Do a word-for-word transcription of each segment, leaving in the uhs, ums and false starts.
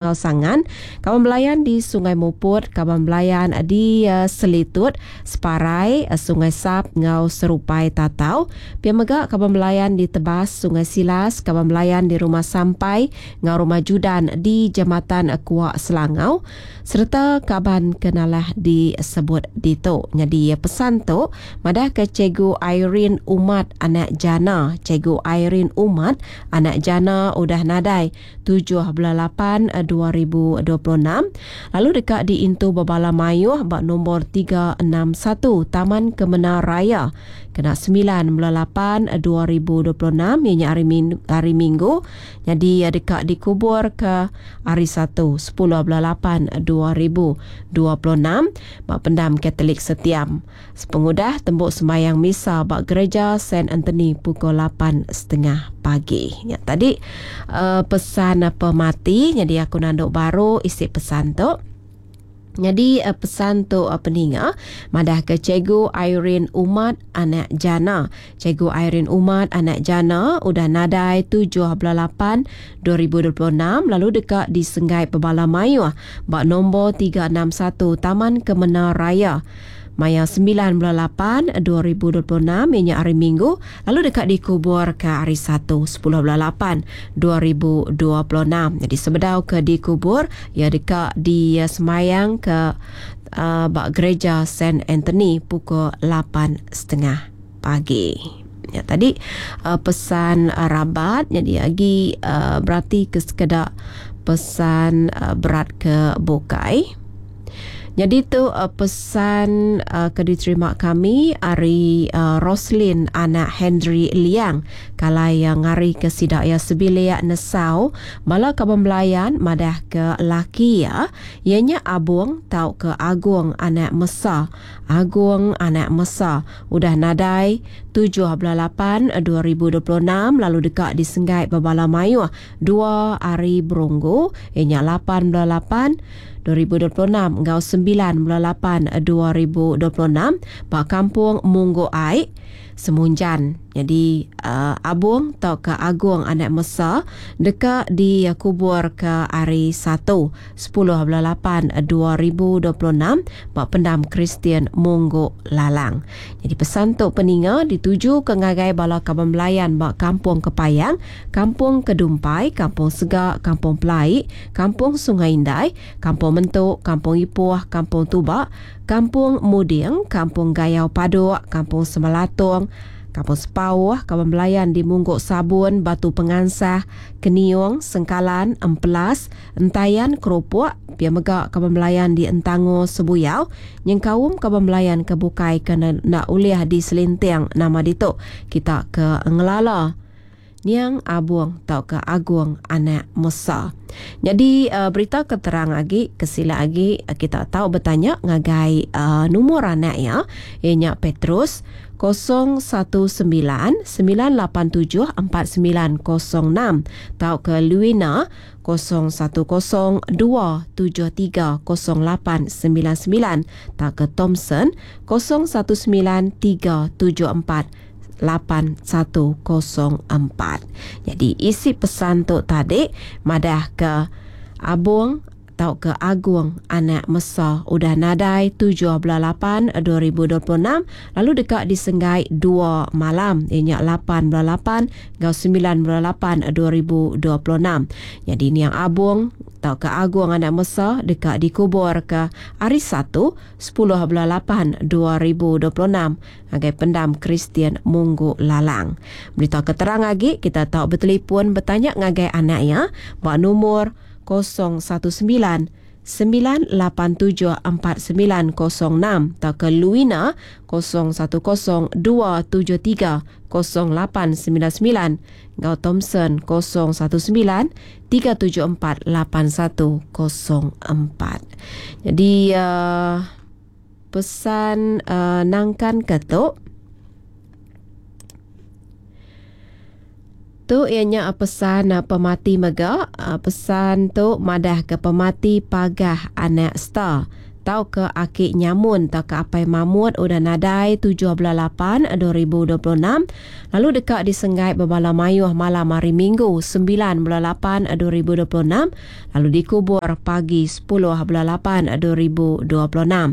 Enggau Sangan, kaban belayan di Sungai Muput, kaban belayan di Selitut, Separai, Sungai Sap enggau Serupai Tatau. Pia mega kaban belayan di Tebas, Sungai Silas, kaban belayan di Rumah Sampai enggau Rumah Judan di Jematan Kuak Selangau sereta kaban ke nalah disebut ditu. Nyadi pesan tu madahka Cikgu Irene Umat anak Jana, Cikgu Irene Umat anak Jana udah nadai tujuh bulan lapan dua ribu dua puluh enam lalu deka diintu bebala mayuh ba nombor tiga enam satu Taman Kemena Raya kena semilan bulan lapan dua ribu dua puluh enam iya nya hari hari Minggu. Jadi deka dikubur ke hari Satu sepuluh bulan lapan dua ribu dua puluh enam ba pendam Katolik Setiam sepengudah tembu sembahyang misa ba gereja Saint Anthony pukul lapan setengah pagi. Ya, tadi uh, pesan pemati. Jadi aku nanduk baru isi pesan tu. Jadi uh, pesan tu uh, peninga madah ke Cikgu Irene Umat anak Jana. Cikgu Irene Umat anak Jana udah nadai tujuh bulan lapan dua ribu dua puluh enam lalu deka disenggai pebala mayuh ba nombor tiga enam satu Taman Kemena Raya maya sembilan bulan lapan dua ribu dua puluh enam ianya hari Minggu lalu deka dikubur ke hari Satu sepuluh bulan lapan dua ribu dua puluh enam. Jadi sebedau ke dikubur ia deka disemayang ke uh, ba gereja Saint Anthony pukul lapan setengah pagi. Ya, tadi uh, pesan uh, rabat. Jadi lagi uh, berarti ke sekeda pesan uh, berat ke bukai. Jadi tu uh, pesan uh, ke diterima kami ari uh, Roslin anak Henry Liang kalai yang ngari ke sidak ya sebilik nesau bala kaban belayan madah ke laki ya ianya Abung tau ke Agung anak Mesa. Agung anak Mesa udah nadai tujuh bulan lapan dua ribu dua puluh enam lalu deka disenggai bebala mayuh dua hari berunggu ianya lapan bulan lapan dua ribu dua puluh enam enggau sembilan bulan lapan dua ribu dua puluh enam ba kampung Munggu Ai Semunjan. Jadi uh, Abung tau ke Agung anak Mesa deka dikubur ke hari Satu sepuluh bulan lapan dua ribu dua puluh enam ba pendam Kristian Munggu Lalang. Jadi pesan tu peninga dituju ke ngagai bala kaban belayan ba Kampung Kepayang, Kampung Kedumpai, Kampung Segak, Kampung Pelai, Kampung Sungai Indai, Kampung Mentuk, Kampung Ipoh, Kampung Tubak, Kampung Muding, Kampung Gayau Paduk, Kampung Semelatung, Kampung Sepauh, kaban belayan di Mungguk Sabun, Batu Pengansah, Keniung, Sengkalan, Empelas, Entayan, Keropok, pia mega kaban belayan di Entango, Sebuyau, nyengkaum kaban belayan ke bukai kena nak uliah di Selinting nama ditu. Kita ke ngelala Niang Abung tau ke Agung anak Mesa. Jadi uh, berita keterang lagi, kesila lagi kita tahu bertanya ngagai uh, nombor anak ya, ianya Petrus kosong satu sembilan sembilan lapan tujuh empat sembilan kosong enam tau ke Luina kosong satu kosong dua tujuh tiga kosong lapan sembilan sembilan tau ke Thompson kosong satu sembilan tiga tujuh empat lapan satu kosong empat. Jadi isi pesan tu tadi madah ke Abung tau ke Agung anak Mesa udah nadai tujuh bulan lapan dua ribu dua puluh enam lalu dekat disenggai dua malam ianya lapan bulan lapan ngau sembilan bulan lapan dua ribu dua puluh enam. Jadi niang Abung tau ke Agung anak Mesa dekat dikubur ke hari Satu sepuluh bulan lapan dua ribu dua puluh enam ngagai pendam Kristian Munggu Lalang. Berita keterang lagi kita tahu bertelefon bertanya ngagai anaknya buat nombor kosong satu sembilan sembilan lapan tujuh empat sembilan kosong enam atau ke Luina kosong satu kosong dua tujuh tiga kosong lapan sembilan sembilan ngau Thompson kosong satu sembilan tiga tujuh empat lapan satu kosong empat. Jadi uh, pesan uh, nangkan ketuk tu ianya pesan pemati mega. Pesan tu madah ke pemati pagah anak star. tauka Aki Nyamun tauka Apai Mamut udah nadai tujuh bulan lapan dua ribu dua puluh enam lalu deka disenggai bebala mayuh malam hari Minggu sembilan bulan lapan dua ribu dua puluh enam lalu dikubur pagi sepuluh bulan lapan dua ribu dua puluh enam.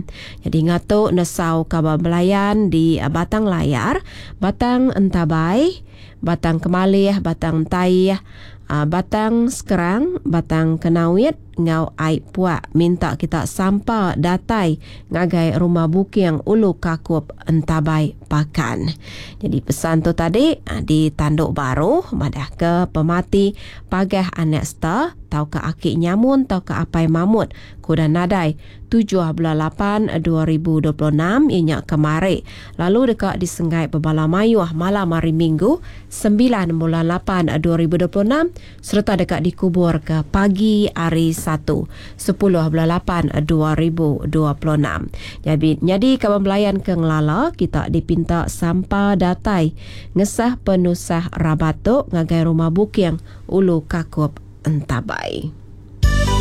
Jadi ngatu nesau kaban belayan di Batang Layar, Batang Entabai, Batang Kemalih, Batang Entaih, Batang Sekerang, Batang Kenawit ngau Ai Puak minta kita sampa datai ngagai rumah Buking Ulu Kakup Entabai Pakan. Jadi pesan tu tadi ditanduk baru madah ke pemati Pagah Anak Star tauka Aki Nyamun tauka Apai Mamut kuda nadai tujuh bulan lapan dua ribu dua puluh enam ianya kemari lalu deka disenggai bebala mayuh malam hari Minggu sembilan bulan lapan dua ribu dua puluh enam serta deka dikubur ke pagi hari Satu sepuluh bulan lapan dua ribu dua puluh enam. Jadi, jadi kawan belayan ke ngelala kita dipinta sampa datai ngesah penusah rabat tu ngagai rumah Buking Ulu Kakup Entabai.